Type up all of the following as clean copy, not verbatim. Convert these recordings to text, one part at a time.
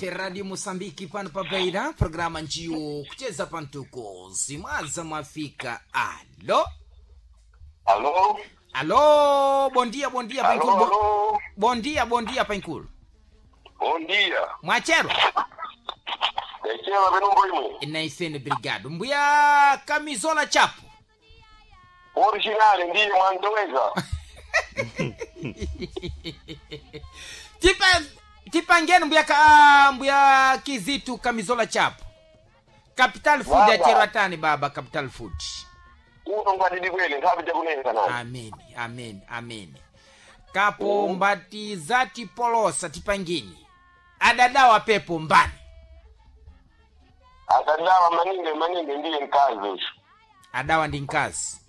Radio Moçambique pano pa Beira, programa njiwo kucheza pantuko zimwaza mwafika. Alo Alô? alo, bom dia, bom dia Alô, Painkulu. Alô? Bom dia, bom dia Painkulu. Bom dia. Mwachero Ndachela venumbo imwe. naisene, obrigado. Mbuya Kamizola Chapo. Original ndiye mwandoweza. Tipa tipangeni mbuya ka, mbuya Kizitu Kamizola Chapo. Capital Food Baba. achero atani baba Capital Food. Uno ngatidi kwene nthawi jakunenza nani. Ameni, ameni, ameni. Kapo mbatizati polosa tipangeni. Adadawa pepo mbani. Akadawa maningi maningi ndiye mkazi uyu. Adawa ndi nkazi.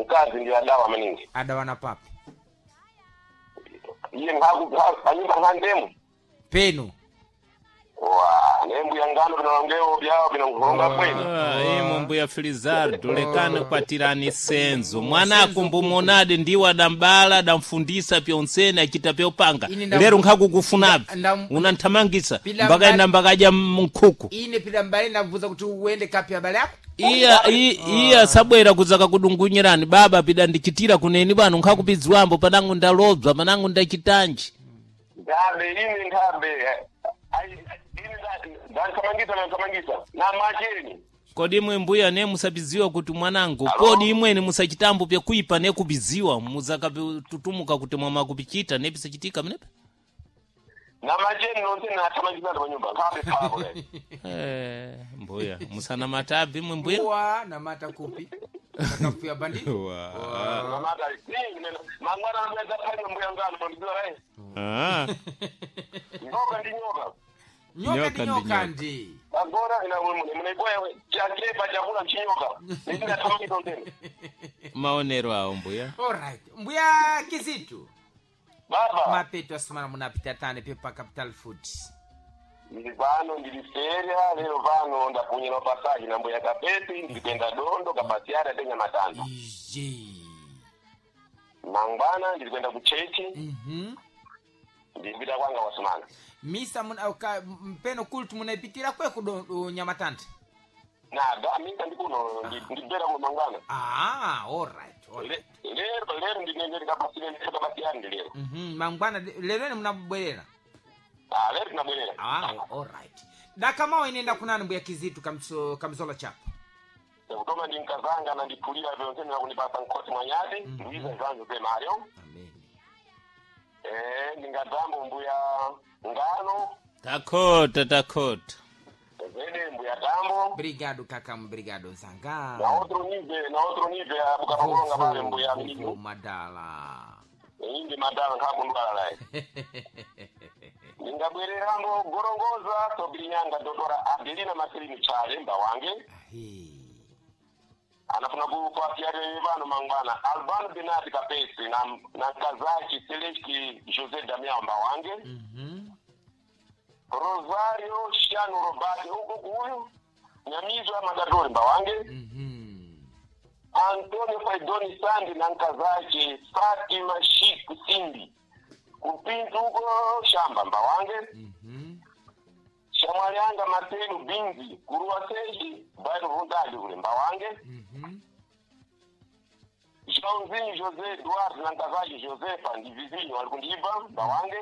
Mkazi ndiye adawa maningi. Adawa na papo. Iye nkhaku panyumba nkhandemu. Penu. Wa, nembu ya ngano binalongeo byao binankulonga kwene. Ah, imo mbuya Felizardo lekani kwatirani senzo mwana akumbumonade ndiwo adambala adamfundisa pyonsene achita pyopanga. Ine ndam- Lero nkhakukufunapi unanthamangisa Pila mpaka ina mbakadya mnkhuku. Ine pila mbale ndavuza kuti uende kapi abale yako. Iya iya sabwera kudzaka kudungunyirani baba pida ndichitira kuneni pano nkhakupidziwambo panangu ndalobza panangu ndachitanji. Nthambe ine nthambe. Ai ine ndanthamangisa ndanthamangisa. Na macheni. Kodi imwe mbuya ne musapidziwa kuti mwanangu Alo? kodi imweni musachitambo pyakuipa nekupidziwa muzakatutumuka kuti mwamakupichita nepisachitika mnepe. Na macheni nonse nathamangisa panyumba. Nkhambe phako le. Eh, mbuya musanamatabi imwe mbuya. Uwa namata kupi. Takafuya bandi. Namata mangwana amweza phanywa mbuya ngano mwandizira rai. Ah. Nyoka ndi nyoka. Nyoka Nyoka ndi ndi nyoka nyoka. ndi. Agora ina munaibwaya chachepa chakula chinyoka. Ndingathamangisa ndene. Maonero awo mbuya. Alright. Mbuya Kizitu. Baba, Mapeto asimana munapita tane pepa Capital Food. ndili pano ndili feria lero pano ndapunyira pasaji na mbuya kapeti ndili dondo kapasiara atenya matanda. Ije. Mangwana ndili kwenda ku chechi ndilipita kwanga wasumana. Misa muna uka, mpeno kultu munaipitira kweku do nyamatanda. Na da minta ndikuno ndibera kuno mangwana. Ah, alright, alright. Lero lero ndinende kapasile ndikapasiara ndi lero. Mangwana lero ni munabwerera. Ah, lero tinabwerera. Ah, alright. Dakamawa inenda kunani mbuya Kizitu Kamizola Chapo. Kutoma ndi nkazanga na ndiphulira vyonse nakunipasa nkhosi mwanyati ndiza zanzo pemayo. Amen. Eh, ndingadambo mbuya ngano Takhota takhota. zede mbuya tambo Obrigado kakamu, obrigado nzanga. na outro nível na outro nível abukapakulonga pale mbuya Vovo mlinu madala. indi madala nkhakundwala laye ndingabwererambo gorongoza sobilinyanga dotora Adelina Masilini Chale mba wange. Ahi. Anafuna kupasiare vano mangwana Albano Benati Kapesi na Kazaki Celesti José Damião mba wange. Rosario Shano Robati huko kuyu Nyamizwa Magadori mba wange. Antonio Faidoni Sandi na Nkazaki Fatima Shiku Simbi kupintu huko shamba mba wange. Shamwalianga Martino Binzi Kuruwa Seji Bairo Vundali ule mba wange. Joãozinho José Eduardo na Nkazaki Josefa ndi vizinho alikundiva mba wange.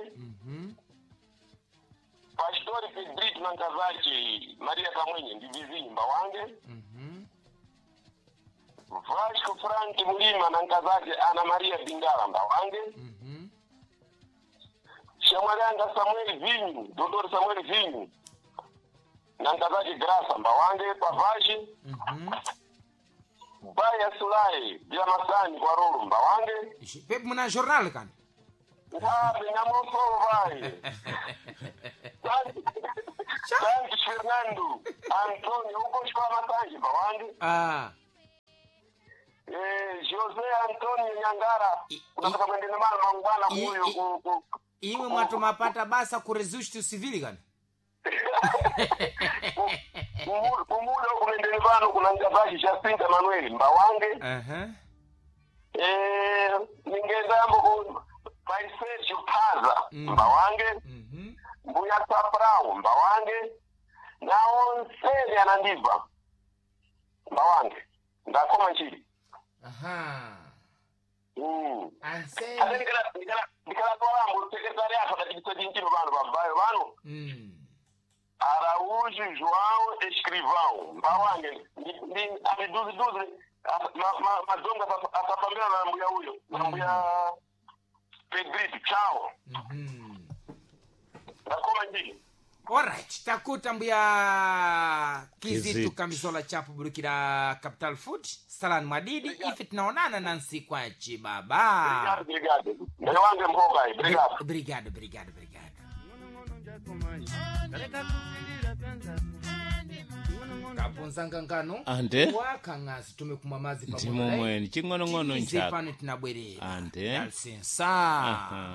Pastori Pedrito na Nkazaki Maria Kamwenye ndi vizinho mba wange. Vasco Frank Mulima na Nkazaki Ana Maria Bingala mba wange. Shamwalianga Samuel Vinyu, Dr. Samuel Vinyu na Nkazaki Graça mba wange Pavaji. Baya Sulai bila masani kwa rolo mba wange. Pepo muna jornal kani? Ngabe nyamosolo vai. Santi Fernando Antonio huko shwa masanji mba wange. Ah. Eh, Jose Antonio Nyangara unataka kwenda mara mangwana huyo ku Iwe mwatu mapata basa ku resusto civil kani? kumuda huko nendeni pano kuna Nkazaki Jacinta Manuel mba wange. Eh, ningendambo ku Pai Sergio Paza mba wange. Mbuya Saprau mbawange na onsene anandibva mbawange ndakoma nchili. Aha. Ate Ansene. ndikalatwalambo sekretari afa dachitisa chinchino vanu vabayo vanu. Araújo João Escrivão mbawange amiduziduzi madzonga asafambira na mbuya uyo na mbuya Pedrito chao. Ndakoma njili. Alright, takuta mbuya Kizitu Kizitu. Kamisola chapu burukira Capital Food salani mwadidi ife tunaonana na nsiku achi baba. Obrigado, obrigado. Ndayo wange mboga iyi, obrigado. Brigado, brigado, brigado. Kapunzanga ngano Ande. wakang'azi tumekumwa mazi Ndimo mweni ching'onong'ono Tize nchako. pano tinabwerera Ande. Dalisensa. Aha.